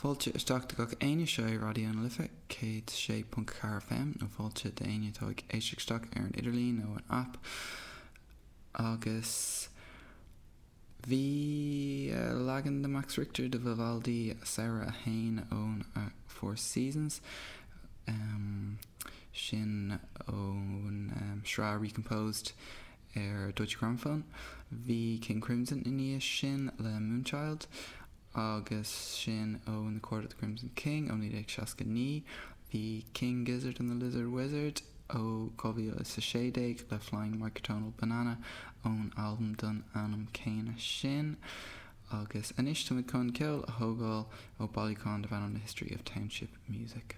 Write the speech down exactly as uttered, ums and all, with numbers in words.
Fáilte isteach do gach éinne seo é Raidió na Life céad sé ponc ceathair FM nó fáilte d'éinne atá ag éisteacht isteach ar an idirlíon nó an app agus bhí leagan de Max Richter de Vivaldi Samhradh a haon ón Four Seasons um, sin ón um, sraith Recomposed ar Deutsche Grammophon. Bhí King Crimson i ndiaidh sin le Moonchild agus sin ón The Court of the Crimson King ó naoi déag seasca naoi, bhí King Gizzard and the Lizard Wizard ó dhá mhíle is a sé déag le Flying Microtonal Banana ón albam den ainm céanna sin. Agus anois táimid chun ceol a thógáil ó bailiúchán darb ainm The History of Township Music.